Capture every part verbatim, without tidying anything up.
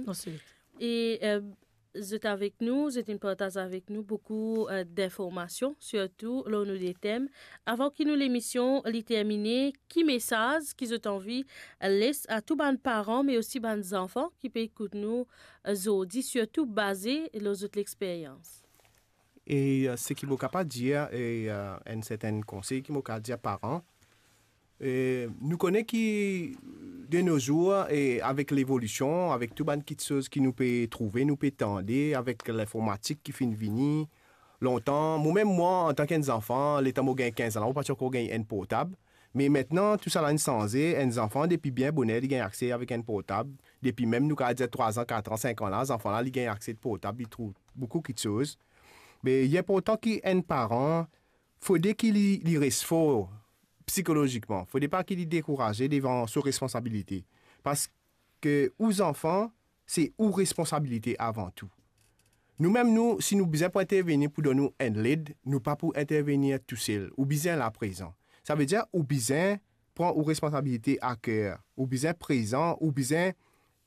Ensuite. E, euh, zot avek nou, zot inn partaz avek nou boukou, euh, d'informasion, sirtou lor nou de tem. Avan ki nou lemision li termine, ki mesaz ki zot anvi, euh, les a tou bann paran, me osi bann zanfan ki pe ekout nou, euh, zordi, sirtou baze lor zot lexperyans? E, euh, seki mo kapav dir, e, euh, enn sertenn konsey ki mo kapav dir paran, e, nou kone ki de nos jours, e avek levolision, avek tou bann kitsoz ki nou pe trouve, nou pe tande, avek linformatik ki finn vini, lontan, mo mem mwa, antan ki enn zanfan, letan mo gagn kinz an, mo pa ti ankor gagn enn portab. Me aster, tousala inn sanze, enn zanfan, depi bien boner, li gagn akse avek enn portab. Depi mem, nou kapav dir trwa an, kat an, sink an la, zanfan la, li gagn akse portab, li trouv boukou kitsoz. Me li inportan ki enn paran, fode ki li, li res for psikolozikman. Fode pa ki li dekouraze devan so responsabilite. Parski ou zanfan, se ou responsabilite avan tou. Nou mem nou, si nou bizin pou intervenir pou donn ou enn led, nou pa pou intervenir tousel. Ou bizin la prezan. Savedir ou bizin pran ou responsabilite a ker. Ou bizin prezan, ou bizin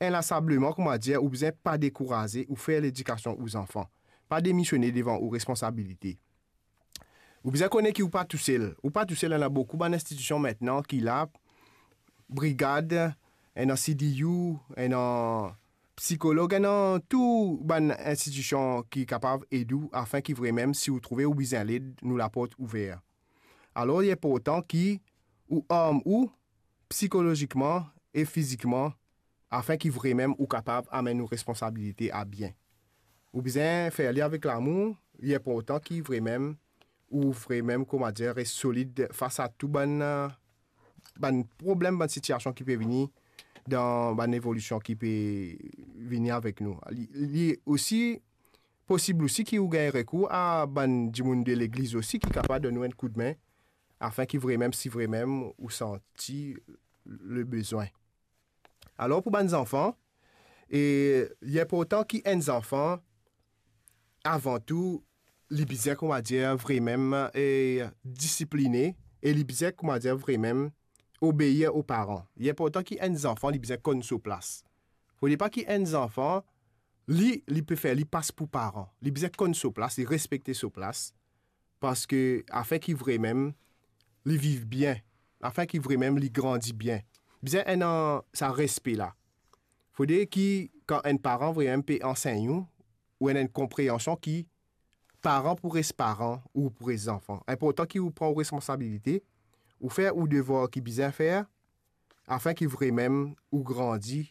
inlasableman, kouma dir, ou bizin pa dekouraze, ou fer ledikasion ou zanfan. Pa demisione devan ou responsabilite. Ou bizin kone ki ou pa tousel. Ou pa tousel, ena boukou bann institision aster ki la, Brigad, ena C D U, ena psikolog, ena tou bann institision ki kapav ed ou, aster ki vremem, si ou trouve ou bizin led, nou laport ouver. Alor, li inportan ki ou arm ou psikolozikman e fizikman, aster ki vremem ou kapav amenn ou responsabilite a bien. Ou bizin fer li avek lamour, li inportan ki vremem ou vremem, kouma dir, res solid fas a tou bann, bann problem, bann sitiasion ki pe vini dan bann evolision ki pe vini avek nou. Li, li osi posib osi ki ou gagn rekour a bann dimoun de legliz osi ki kapav donn ou enn koudme, aster ki vremem, si vremem ou santi le bezwin. Alor, pou bann zanfan, e, li inportan ki enn zanfan, avan tou, li bizin, kouma dir, vremem, e, disipline, e li bizin, kouma dir, vremem obeir o paran. Li inportan ki enn zanfan, li bizin konn so plas. Fode pa ki enn zanfan, li, li pe fer, li pas pou paran. Li bizin konn so plas, li respekte so plas. Parski aster ki vremem li viv bien, aster ki vremem li grandi bien, bizin ena sa respe la. Fode ki kan enn paran vremem pe ansegn ou, ou ena enn konpreansion ki paran pou res paran, ou pou res zanfan. Inportan ki ou pran ou responsabilite, ou fer ou devwar ki bizin fer, aster ki vremem ou grandi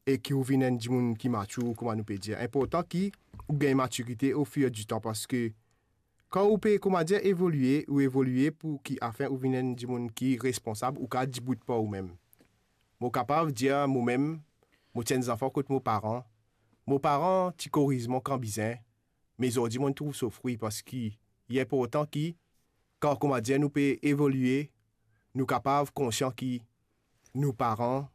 e ki ou vinn enn dimoun ki matir, kouma nou pe dir. Inportan ki ou gagn matirite au fur du temps, parski kan ou pe, kouma dir, evolie, ou evolie pou ki aster ou vinn enn dimoun ki responsab, ou kapav dibout par oumem. Mo kapav dir momem, mo ti enn zanfan kot mo paran, mo paran ti koriz mwa kan bizin, me zordi mo trouv so fri, parski li inportan ki, kan, kouma dir, nou pe evolie, nou kapav konsian ki nou paran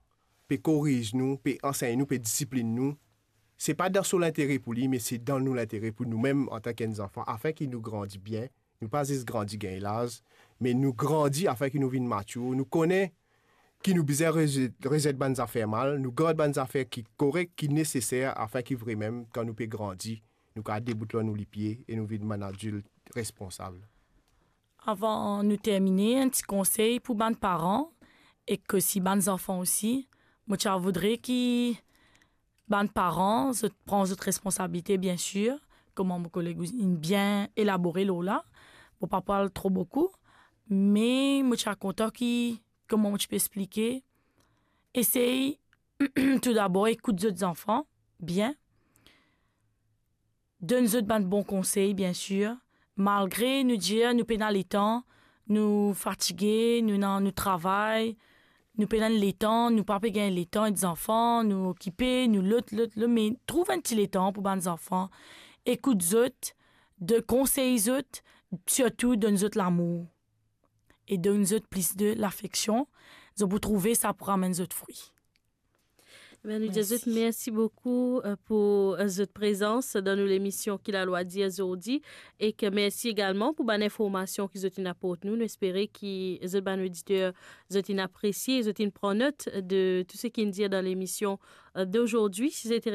pe koriz nou, pe ansegn nou, pe disiplinn nou. Se pa dan so lintere pou li, me se dan nou lintere pou noumem antan ki enn zanfan, aster ki nou grandi bien. Nou pa zis grandi gagn laz, me nou grandi aster ki nou vinn matir, nou kone ki nou bizin rezet, rezet bann zafer mal, nou gard bann zafer ki korek, ki neseser, aster ki vremem, kan nou pe grandi, nou kapav debout lor nou lipie e nou vinn bann adilt responsab. Avan nou termine, enn ti konsey pou bann paran ek osi bann zanfan osi. Mo ti a voudre ki bann paran, zot pran zot responsabilite, bien sir, kouma mo koleg inn bien elabore lor la. Mo pa pou al tro boukou, me mo ti a kontan ki, kouma mo ti pe explike, esey toudabor ekout zot zanfan bien, donn zot bann bon konsey, bien sir. Malgre nou dir nou pena letan, nou fatige, nou ena nou travay, nou pena letan, nou pa pe gagn letan ek zanfan, nou okipe, nou lot, lot, lot, me trouv enn ti letan pou bann zanfan, ekout zot, donn konsey zot, sirtou donn zot lamour e donn zot plis de lafeksion, zot pou trouve sa pou ramenn zot fri. Ben, nou dir zot mersi boukou, euh, pou, euh, zot prezans dan nou lemision Ki Lalwa Dir zordi, ek mersi egalman pou bann informasion ki zot inn aport nou. Nou espere ki zot bann oditer, zot inn apresie, zot inn pran not de tou seki inn dir dan lemision, euh, d'aujourd'hui. Si zot